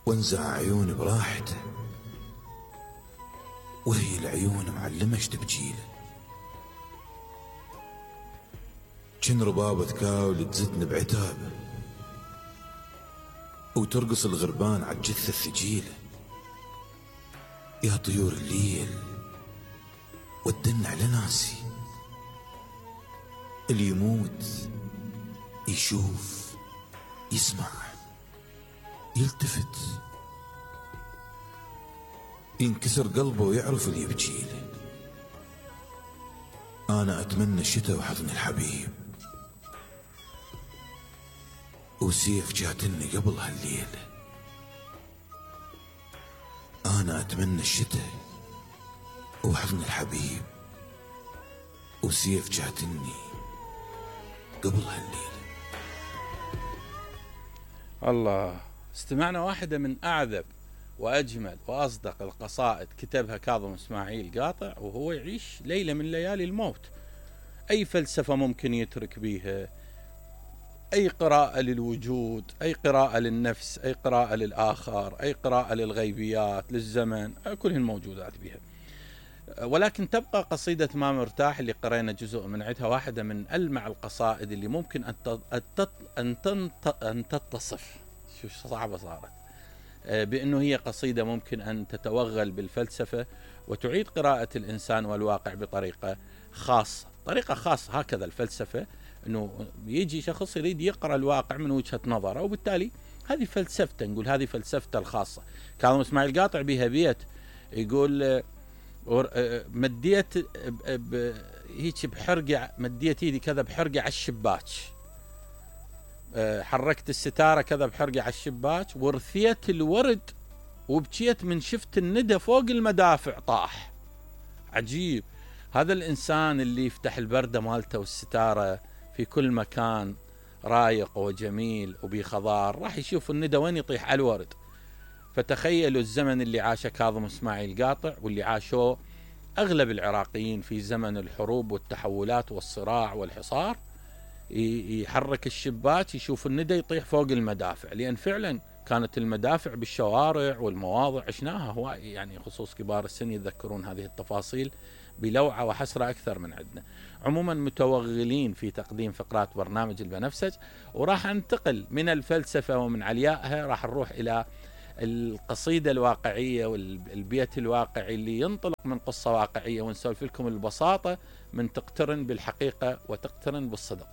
وانزع عيوني براحته، وهي العيون معلمة اش تبجيله. جن ربابة كاول تزتني بعتابه، وترقص الغربان عالجثة الثجيلة. يا طيور الليل ودن على ناسي، اللي يموت يشوف يسمع يلتفت، ينكسر قلبه ويعرف اللي يبجيله. أنا أتمنى الشتاء وحضن الحبيب، وسيف جاتني قبل هالليلة. أنا أتمنى الشتاء وحضن الحبيب، وسيف جاتني قبل هالليلة. الله، استمعنا واحدة من أعذب وأجمل وأصدق القصائد كتبها كاظم إسماعيل قاطع وهو يعيش ليلة من ليالي الموت. أي فلسفة ممكن يترك بيها، أي قراءة للوجود، أي قراءة للنفس، أي قراءة للآخر، أي قراءة للغيبيات، للزمن، كلهن موجودات بها. ولكن تبقى قصيدة ما مرتاح اللي قرينا جزء من عدها واحدة من ألمع القصائد اللي ممكن أن تتصف، شو صعبة صارت، بأنه هي قصيدة ممكن أن تتوغل بالفلسفة وتعيد قراءة الإنسان والواقع بطريقة خاصة. طريقة خاصة هكذا الفلسفة، أنه يجي شخص يريد يقرأ الواقع من وجهة نظره، وبالتالي هذه فلسفته، نقول هذه فلسفته الخاصة. كاظم إسماعيل قاطع بها بيت يقول مديت هيك بحرقة، مديت ايدي كذا بحرقة على الشباك، حركت الستارة كذا بحرقة على الشباك، ورثيت الورد وبكيت من شفت الندى فوق المدافع طاح. عجيب، هذا الإنسان اللي يفتح البردة مالته والستارة في كل مكان رايق وجميل وبخضار، راح يشوف الندى وين يطيح على الورد. فتخيلوا الزمن اللي عاشه كاظم إسماعيل قاطع واللي عاشوه أغلب العراقيين في زمن الحروب والتحولات والصراع والحصار. يحرك الشباك يشوف الندى يطيح فوق المدافع، لأن فعلا كانت المدافع بالشوارع والمواضع عشناها هواي، يعني خصوص كبار السن يتذكرون هذه التفاصيل بلوعة وحسرة أكثر من عندنا. عموما متوغلين في تقديم فقرات برنامج البنفسج، وراح انتقل من الفلسفة ومن عليائها راح نروح إلى القصيدة الواقعية والبيت الواقعي اللي ينطلق من قصة واقعية، ونسولف لكم البساطة من تقترن بالحقيقة وتقترن بالصدق.